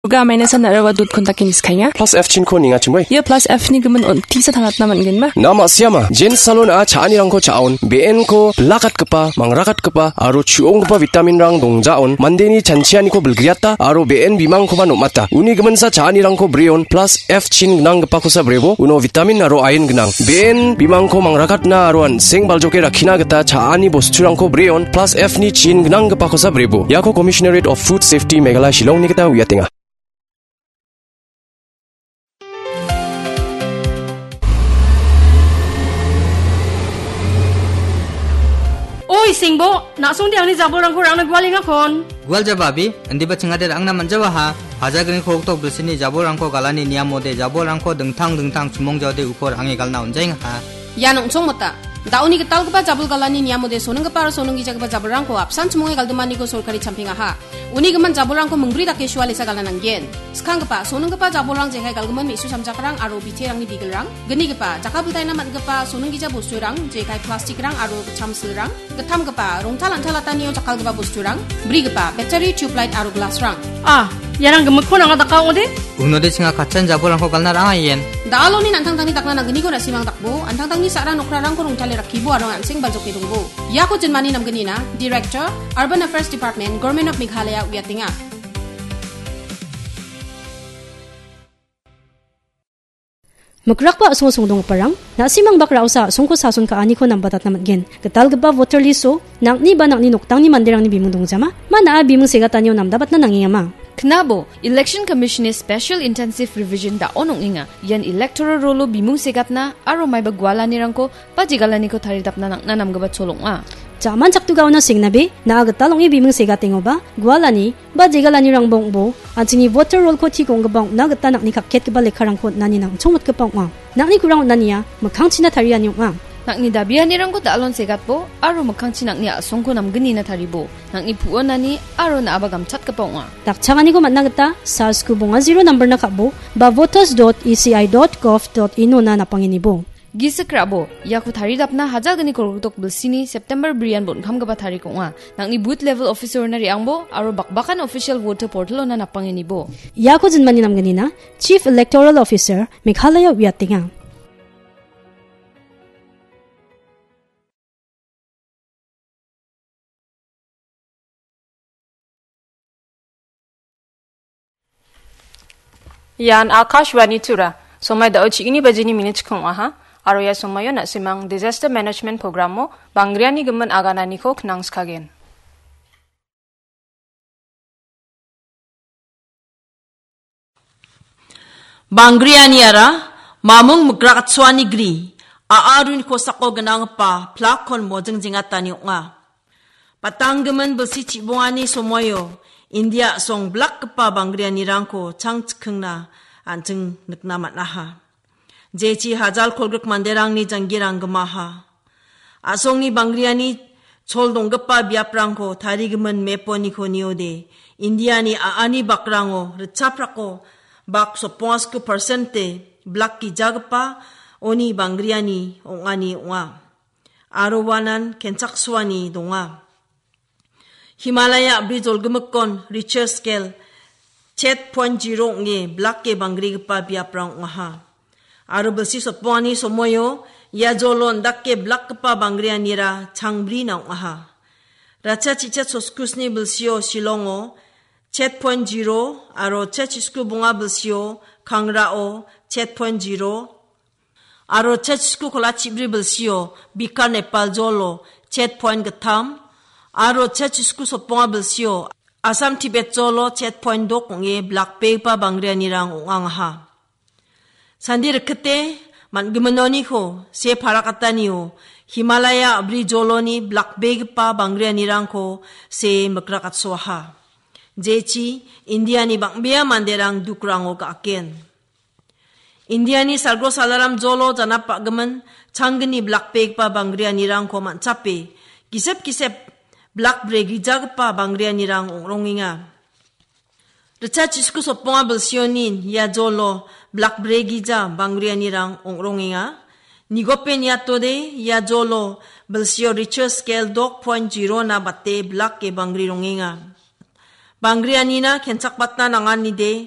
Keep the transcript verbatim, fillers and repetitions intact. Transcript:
Ga maina san arawa dot kontak ini skainga. Plus F chinko ninga chimoi. Ia plus F ni gimin on tisa tangatna man gen ma. Nama siama, Jen Salon a cha·anirangko cha·on, B N ko bilakatgipa, mangrakatgipa, aro chu·onggipa vitamin rang dongjaon, mandeni chanchianiko bilgriata, aro B N bimangkoba nom·ata. Uni giminsa cha·anirangko breon, plus F chin gnanggipakosa brebo, uno vitamin aro ain gnang. B N bimangko mangrakatna aro an·seng baljoke rakkina gita cha·ani bosturangko breon, plus F ni chin gnanggipakosa brebo. Iako Commissionerate of Food Safety Meghalaya Shillongni gita uiatenga. Oi, Sengbo, na·songde angni jabolrangko rangna gualengakon. Gual jaba abi, indiba chingade rangna manjawaha. Hajagriko oktok bisini jabolrangko galani niamode jabolrangko dingtang dingtang chumong jaode ukor ange galna onjaingaha. Ian ong·chongmota. Da·oni gitalgipa jabol galani niamode soninggipa aro soninggijagipa jabolrangko apsan chimonge galdimaniko sorkari champengaha. Uni gimin jabolrangko mingbri dake sualesa galna nanggen. Skanggipa, soninggipa jabolrang jekai galgimin me·su samjakrang aro biterangni bigilrang, gnigipa, jakabiltaina man·gipa soninggija bosturang, jekai plastikrang aro gitcham silrang, gittamgipa, rongtal an·talatanio jakkalgipa bosturang, brigipa, battery, tubelight aro glassrang. Ah, iarang gimikko nanga daka ong·ode? Unode chinga katchan jabolrangko galna rang·a ien. Da·aloni nantangtangni dakna nanggniko na·simang dakbo, antangtangni sa·ra nokrarangko rongtale rakkibo aro an·seng baljoke dongbo. Iako jinmani namgnina, Director, Urban Affairs Department, Government of Meghalaya uiatenga. Mikrakba a·songo songdonggiparang, na·simang bak ra·osa a·songko sason ka·aniko nambatatna man·gen. Gitalgipa voter list-o, nang·ni ba nang·ni noktangni manderangni bimung dongjama, ma na·a bimung segatanio namdabatna nangengama. Knabo, Election Commission-ni Special Intensive Revision da·on ong·enga. Ian electoral roll-o bimung segatna aro maiba gualanirangko ba jegalaniko taridapna nang·na namgipa chol ong·a. Jaman chaktugaona sengnabe, na·a gital ong·e bimung segatengoba, gualani, ba jegalanirangba ong·bo, an·chingni voter roll-ko tik ong·gipa ong·na gita nang·ni kakketgipa lekkarangko on·ani nang·chongmotgipa ong·a. Nang·ni kurang on·ania, mikkangchina tariani ong·a. Nang·ni dabianirangko da·alon segatbo, aro mikkangchi nang·ni a·songko namgnina taribo. Nang·ni pu·onani, aro na·aba gamchatgipa ong·a. Dakchakaniko man·na gita, sars ku bonga zero nambarna ka·bo, ba voters dot E C I dot gov dot in ona napangenibo. Gisik ra·bo, iako taridapna hajalgni kolgrikdok bilsini September brian bon·kamgipa tarik ong·a. Nang·ni booth level officer-ona re·angbo aro bakbakan official voter portal-ona napangenibo. Iako jinmani namgnina Chief Electoral Officer, Meghalaya uiatenga. Ian Akashvani Tura. Somai da·o chigni bajini minit chikong aha. Aro ia somaio na·simang Disaster Management Programo bangriani gimin agananiko knang skagen. Bangrianiara mamung mikrakatsoani gri, a·a runi kosako gnanggipa plakkon mojing jengatani ong·a. Patanggimin bilsi chibongani somoio India a·song blakgipa bangrianirangko changchikingna an·ching nikna man·aha. Jechi hajal kolgrik manderangni janggirang gimaha. A·songni bangriani chol donggipa biaprangko tarigimin meponiko niode, Indiani a·ani bakrango ritchaprako bak sopongasku persente blak gijagipa oni bangriani ong·ani ong·a. Aro uanan kenchaksoani donga. Himalaya a·bri jolgimikkon Richter scale chet point zero ong·e blake bangrigipa biaprang ong·aha. Aro bilsi sotbongani somoio ia jolo indake blakgipa bangrianira changbrina ong·aha. Ratcha chichet soskusni bilsio Shillongo chet point zero aro chet chisku bonga bilsio Kangrao chet point zero, aro chet chisku kola chibri bilsio Bikar Nepal jolo chet point gittam, aro chet chisku sotbonga bilsio Assam Tibet jolo chet point dok ong·e blakbegipa bangrianirang ong·angaha. Sandi rikite man·giminoniko se parakatanio Himalaya a·bri joloni blakbegipa bangrianirangko se mikrakatsoaha. Jechi Indiani bang·bea manderang dukrango ga·aken. Indiani salgro salaram jolo janap ba·gimin changgni blakbegipa bangrianirangko man·chape gisep gisep blak bregrijagipa bangrianirang ong·rongenga. Ritcha chisku sotbonga bilsionin ia jolo blak bregija bangrianirang ong·rongenga. Nigope niatode ia jolo bilsio Richter scale dok point zero na bate blake bangri rongenga. Bangrianina kenchakbatna nanganide